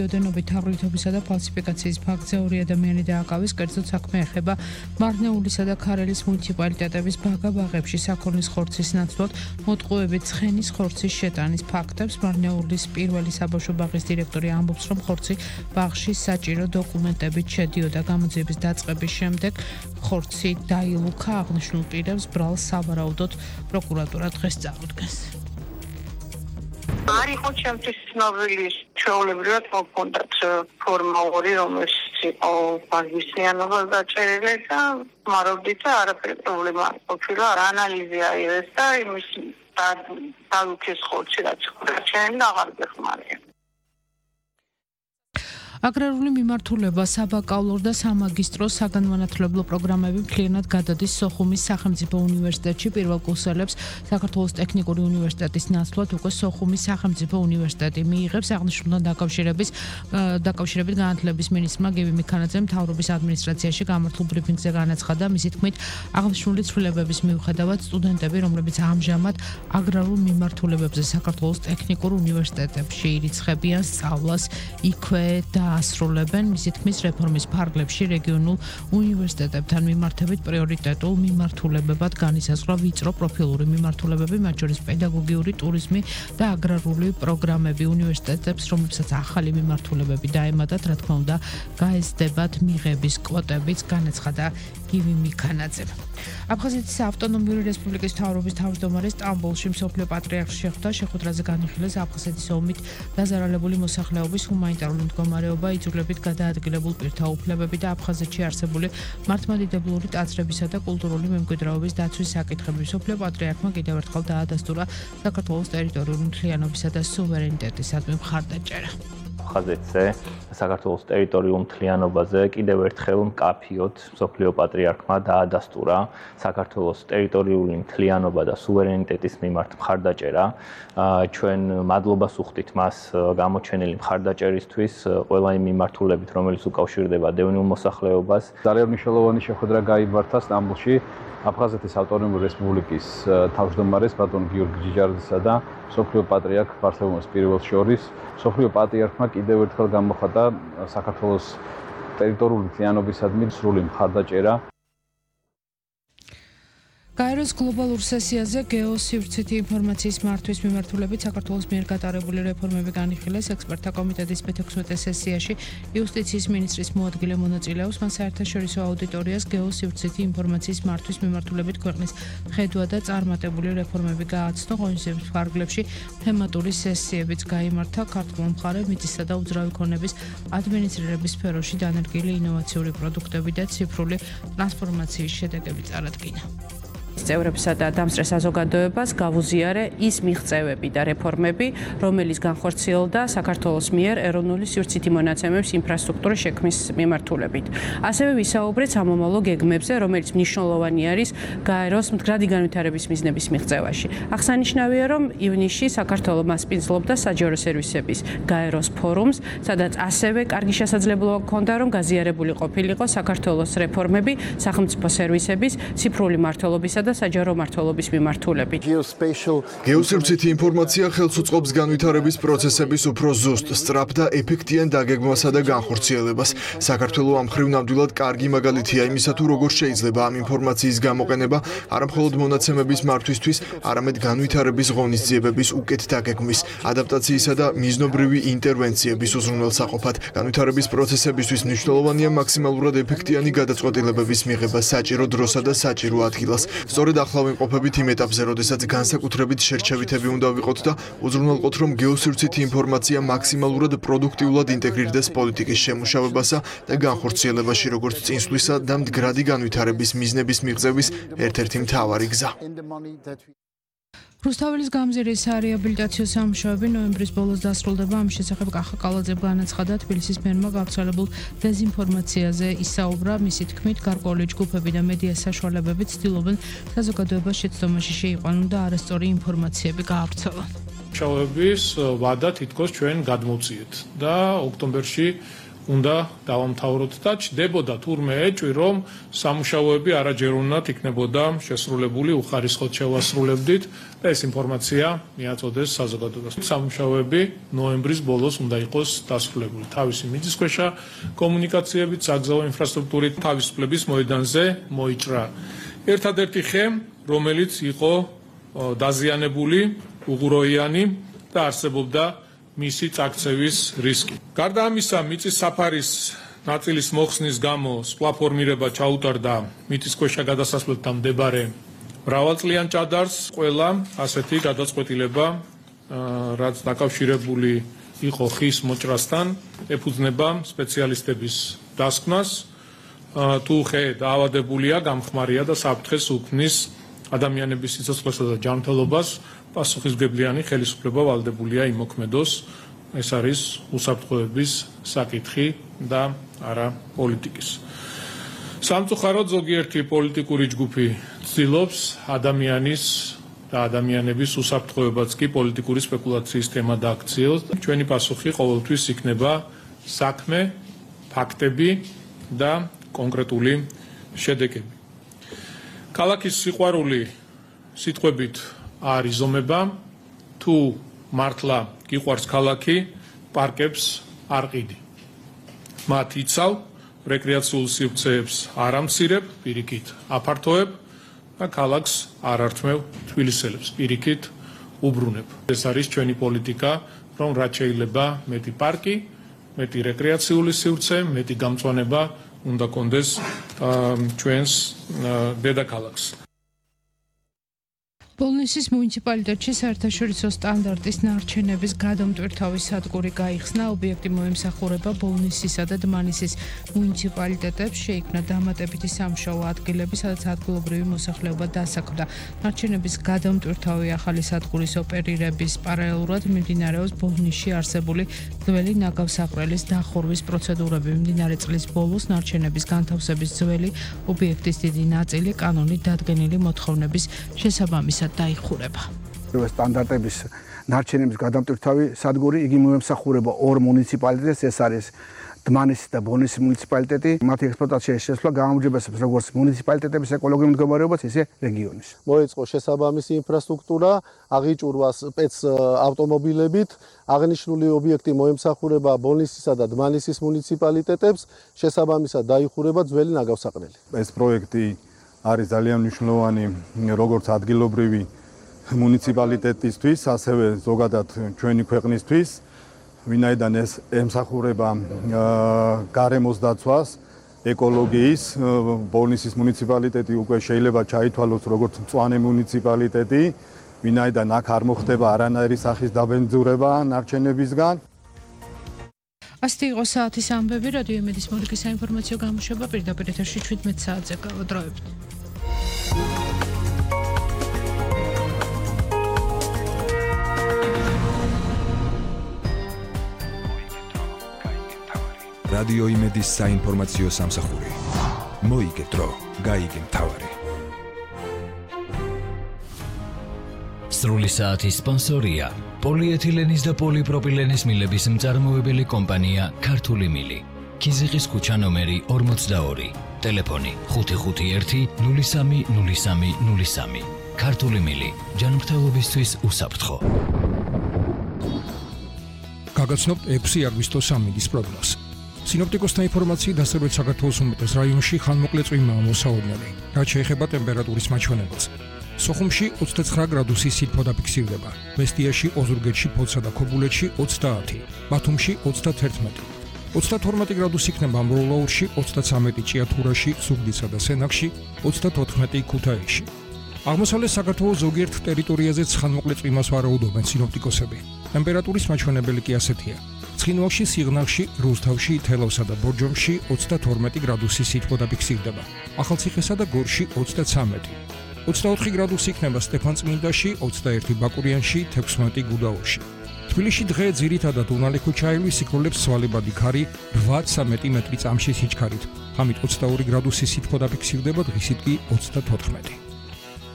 ოდენობით თაღლითობისა და ფალსიფიკაციის ფაქტზე 2 ადამიანი დააკავეს, კერძოდ საქმე ეხება მარნეულისა და ქარელის მუნიციპალიტეტების ბაღებში საქონლის ხორცის ნაცვლად მოტყუებით ცხენის ხორცის შეტანის ფაქტებს. მარნეულის პირველი საბავშვო ბაღის დირექტორი ამბობს, რომ ხორცი ბაღში საჭირო დოკუმენტებით შედიოდა. გამოძიების დაწყების შემდეგ ხორცი დაილუქა. აღნიშნულ პირებს ბრალს სავარაუდოდ პროკურატურა დღეს წარუდგენს. არ იყო ჩემთვის ცნობილი ჩვეულებრივად მოქონდათ ფორმალური, რომელიც იყო ბაგისიანობა დაჭერილი და მარობდით და არაფერი პრობლემა არ ყოფილა. ანალიზი აიღეს და იმის დალუქეს ხორცი რაც ხორციანი და აღარ გეხმარია. აგრარული მიმართულება, საბაკალავრო და სამაგისტრო საგანმანათლებლო პროგრამები მთლიანად გადადის სოხუმის სახელმწიფო უნივერსიტეტში. პირველ კურსელებს საქართველოს ტექნიკური უნივერსიტეტის ნაცვლად უკვე სოხუმის სახელმწიფო უნივერსიტეტი მიიღებს. აღნიშნულთან დაკავშირებით განათლების მინისტრმა გივი მიქანაძემ მთავრობის ადმინისტრაციაში გამართულ ბრიფინგზე განაცხადა, მისი თქმით, აღნიშნული ცვლილებების მიუხედავად სტუდენტები, რომლებიც ამჟამად აგრარულ მიმართულებებზე საქართველოს ტექნიკურ უნივერსიტეტებში ირიცხებიან სწავლას, იქვე დაასრულებენ. მისი თქმის, რეფორმის ფარგლებში რეგიონულ უნივერსიტეტებთან მიმართებით პრიორიტეტულ მიმართულებებად განისაზღვრა ვიწრო პროფილური მიმართულებები, მათ შორის პედაგოგიური, ტურიზმი და აგრარული პროგრამები. უნივერსიტეტებს, რომლებსაც ახალი მიმართულებები დაემატათ, რა თქმა უნდა, გაეზრდებათ მიღების კვოტებიც, განაცხადა გივი მიქანაძემ. აფხაზეთის ავტონომიური რესპუბლიკის მთავრობის თავმჯდომარე სტამბოლში მსოფლიო პატრიარქს შეხვდა. შეხვედრაზე განიხილეს აფხაზეთის ომით დაზარალებული მოსახლეობის ჰუმანიტარული მდგომარეობა, იძულებით გადაადგილებულ პირთა უფლებები და აფხაზეთში არსებული მართლმადიდებლური ტაძრებისა და კულტურული მემკვიდრეობის დაცვის საკითხები. მსოფლიო პატრიარქმა კიდევ ერთხელ დაადასტურა საქართველოს ტერიტორიული მთლიანობისა და სუვერენიტეტისადმი მხარდაჭერა. აფხაზეთზე საქართველოს ტერიტორიულ მთლიანობაზე კიდევ ერთხელ მკაფიოდ მსოფლიო პატრიარქმა დაადასტურა საქართველოს ტერიტორიული მთლიანობა და სუვერენიტეტის მიმართ მხარდაჭერა. ჩვენ მადლობას ვუხდით მას გამოჩენილი მხარდაჭერისთვის ყველა იმ მიმართულებით, რომელიც უკავშირდება დევნილ მოსახლეობას. ძალიან მნიშვნელოვანი შეხვედრა გაიმართა სტამბოლში აფხაზეთის ავტონომიური რესპუბლიკის თავმჯდომარეს ბატონ გიორგი ჯიჯარდისა და მსოფლიო პატრიარქ ბართოლომეოს პირველს შორის. მსოფლიო პატრიარქმა კიდევ ერთხელ გამოხატა საქართველოს ტერიტორიული მთლიანობისადმი სრული მხარდაჭერა. გაეროს გლობალურ სესიაზე გეოსივრცითი ინფორმაციის მართვის მიმართულებით საქართველოს მიერ გატარებული რეფორმები განიხილეს. ექსპერტთა კომიტეტის მე-16 სესიაში იუსტიციის მინისტრის მოადგილე მონაწილეობს. მან საერთაშორისო აუდიტორიას გეოსივრცითი ინფორმაციის მართვის მიმართულებით ქვეყნის ხედვა და წარმატებული რეფორმები გააცნო. ღონისძიების ფარგლებში თემატური სესიებიც გაიმართა. ქართულ მხარე მიწისა და უძრავი ქონების ადმინისტრირების სფეროში დანერგილი ინოვაციური პროდუქტები და ციფრული ტრანსფორმაციის შედეგები წარადგინა. წევრებსა და დამსწრე საზოგადოებას გავუზიარე ის მიღწევები და რეფორმები, რომელიც განხორციელდა საქართველოს მიერ ეროვნული სივრცითი მონაცემების ინფრასტრუქტურის შექმნის მიმართულებით. ასევე ვისაუბრეთ სამომავლო გეგმებზე, რომელიც მნიშვნელოვანი არის გაეროს მდგრადი განვითარების მიზნების მიღწევაში. აღსანიშნავია, რომ ივნისში საქართველო მასპინძლობდა საჯარო სერვისების გაეროს ფორუმს, სადაც ასევე კარგი შესაძლებლობა ჰქონდა, რომ გაზიარებული ყოფილიყო საქართველოს რეფორმები სახელმწიფო სერვისების, ციფრული მმართველობისა და საჯარო მმართველობის მიმართულებით. გეოსივრცითი ინფორმაცია ხელს უწყობს განვითარების პროცესების უფრო ზუსტ, სწრაფ და ეფექტიან დაგეგმვასა და განხორციელებას. საქართველო ამ მხრივ ნამდვილად კარგი მაგალითია იმისა, თუ როგორ შეიძლება ამ ინფორმაციის გამოყენება არამხოლოდ მონაცემების მართვისთვის, არამედ განვითარების ღონისძიებების უკეთ დაგეგმვის, ადაპტაციისა და მიზნობრივი ინტერვენციების უზრუნველსაყოფად. განვითარების პროცესებისთვის მნიშვნელოვანია მაქსიმალურად ეფექტიანი გადაწყვეტილებების მიღება საჭირო დროსა და საჭირო ადგილას. სწორედ ახლა ვიმყოფებით იმ ეტაპზე, როდესაც განსაკუთრებით შერჩევითები უნდა ვიყოთ და უზრუნველყოთ, რომ გეოსივრცითი ინფორმაცია მაქსიმალურად პროდუქტიულად ინტეგრირდეს პოლიტიკის შემუშავებასა და განხორციელებაში, როგორც წინსვლისა და მდგრადი განვითარების მიზნების მიღწევის ერთ-ერთი მთავარი გზა. რუსთაველის გამზირის რეაბილიტაციო სამუშაოები ნოემბრის ბოლოს დასრულდება. ამ შესახებ კახა კალაძემ განაცხადა, თბილისის მერმა გავრცელებულ დეზინფორმაციაზე ისაუბრა. მისი თქმით, გარკვეული ჯგუფები და მედია საშუალებები ცდილობენ საზოგადოებას შეცდომაში შეიყვანონ და არასწორი ინფორმაციები გაავრცელონ. მუშაოების ვადა თითქოს ჩვენ გადმოვწიეთ და ოქტომბერში უნდა დავამთავროთ და ჩდებოდა თურმე ეჭვი, რომ სამუშაოები არაჯეროვნად იქნებოდა შესრულებული, უხარისხოდ შევასრულებდით და ეს ინფორმაცია მიაწოდეს საზოგადოებას. სამუშაოები ნოემბრის ბოლოს უნდა იყოს დასრულებული. თავისი მიწისქვეშა კომუნიკაციებით, საგზაო ინფრასტრუქტურით, თავისუფლების მოედანზე მოიჭრა ერთადერთი ხე, რომელიც იყო დაზიანებული, უღროიანი და არსებობდა მისი წაქცევის რისკი. გარდა ამისა, მიწის საფარის ნაწილის მოხსნის გამო სპლაფორმირება ჩაუტარდა მიწისქვეშა გადასასვლელთან მდებარე მრავალწლიან ჭადარს. ყველა ასეთი გადაწყვეტილება, რაც დაკავშირებული იყო ხის მოჭრასთან, ეფუძნება სპეციალისტების დასკვნას. თუ ხე დაავადებულია, გამხმარია და საფრთხეს უქმნის ადამიანების სიცოცხლესა და ჯანმრთელობას, პასუხისმგებლიანი ხელისუფლება ვალდებულია იმოქმედოს. ეს არის უსაფრთხოების საკითხი და არა პოლიტიკის. სამწუხაროდ ზოგიერთი პოლიტიკური ჯგუფი ცდილობს ადამიანის და ადამიანების უსაფრთხოებაც კი პოლიტიკური სპეკულაციის თემა დააქციოს. ჩვენი პასუხი ყოველთვის იქნება საქმე, ფაქტები და კონკრეტული შედეგები. ქალაქის სიყვარული სიტყვებით არ იზომება, თუ მართლა გიყვარს ქალაქი, პარკებს არ ყიდი. მათ იცავ, რეკრეაციულ სივრცეებს არ ამცირებ, პირიქით აფართოებ და ქალაქს არ ართმევ თბილისელებს, პირიქით უბრუნებ. ეს არის ჩვენი პოლიტიკა, რომ რაც შეიძლება მეტი პარკი, მეტი რეკრეაციული სივრცე, მეტი გამწვანება უნდა კონდეს ჩვენს დედაქალაქს. ბოლნისის მუნიციპალიტეტში საერთაშორისო სტანდარტის ნარჩენების გადამტვირთავი სადგური გაიხსნა. ობიექტი მოემსახურება ბოლნისისა და დმანისის მუნიციპალიტეტებს. შეიქმნა დამატებითი სამუშაო ადგილები, სადაც ადგილობრივი მოსახლეობა დასაქმდა. ნარჩენების გადამტვირთავი ახალი სადგურის ოპერირების პარალელურად მიმდინარეობს ბოლნისში არსებული ძველი ნაგავსაყრელის დახურვის პროცედურები. მიმდინარე წლის ბოლოს ნარჩენების განთავსების ძველი ობიექტის დიდი ნაწილი კანონით დადგენილი მოთხოვნების შესაბამისად დაიხურება. სტანდარტების ნარჩენების გადამტვირთავი სადგური იგი მოემსახურება ორ მუნიციპალიტეტს, ეს არის დმანისის და ბოლნისის მუნიციპალიტეტი. მათი ექსპლუატაციაში შესვლა გააუმჯობესებს როგორც მუნიციპალიტეტების ეკოლოგიურ მდგომარეობას, ისე რეგიონის. მოეწყო შესაბამისი ინფრასტრუქტურა, აღიჭურვა სპეც ავტომობილებით. აღნიშნული ობიექტი მოემსახურება ბოლნისისა და დმანისის მუნიციპალიტეტებს, შესაბამისად დაიხურება ძველი ნაგავსაყრელი. ეს პროექტი არის ძალიან მნიშვნელოვანი როგორც ადგილობრივი მუნიციპალიტეტისთვის, ასევე ზოგადად ჩვენი ქვეყნისთვის, ვინაიდან ეს ემსახურება გარემოს დაცვას, ეკოლოგიის. ბოლნისის მუნიციპალიტეტი უკვე შეიძლება ჩაითვალოს როგორც მწვანე მუნიციპალიტეტი, ვინაიდან აქ არ მოხდება არანაირი სახის დაბენძურება ნარჩენებისგან. ასეთი იყო საათის ამბები. რადიო იმედის მორიგის საინფორმაციო გამოშვება პირდაპირ ეთერში 17 საათზე გავადროებთ. რადიო იმედის საინფორმაციო სამსახური. მოიგე დრო, გაიგე მთავარი. სრული საათის სპონსორია პოლიეთილენის და პოლიპროპილენის მილების მწარმოებელი კომპანია ქართული მილი. ქიზიყის ქუჩა ნომერი 42. ტელეფონი 551-030303. ქართული მილი. ჯანმრთელობისთვის უსაფრთხო. გაგაცნობთ 6 აგვისტოს სამინდის პროგნოზს. სინოპტიკოსთა ინფორმაციით დასავლეთ საქართველოს უმეტეს რაიონში ხანმოკლე წვიმაა მოსაოდნელი. რაც შეეხება ტემპერატურის მაჩვენებელს. სოხუმში 29 გრადუსი სითბო დაფიქსირდება. მესტიაში, ოზურგეთში, ფოთსა და ქობულეთში 30, ბათუმში 31. 32 გრადუსი იქნება ამბროლაურში, 33 ჭიათურაში, ზუგდიდსა და სენაკში, 34 ქუთაისში. აღმოსავლეთ საქართველოს ზოგიერთ ტერიტორიაზეც ხანმოკლე წვიმას ვარაუდობენ სინოპტიკოსები. ტემპერატურის მაჩვენებელი კი ასეთია. ცხინვალში, სიღნაღში, რუსთავში, თელავსა და ბორჯომში 32 გრადუსი სითბო დაფიქსირდება. ახალციხესა და გორში 33. 24 გრადუსი იქნება სტეფანწმინდაში, 21 ბაკურიანში, 16 გუდაურში. თბილისში დღე ძირითადად უნალი ქუჩაევი სიკვდილებს სვალებადი ქარი 8-13 მეტრი წამში სიჩქარით. ღამით 22 გრადუსი სითბო დაფიქსირდება, დღისით კი 34.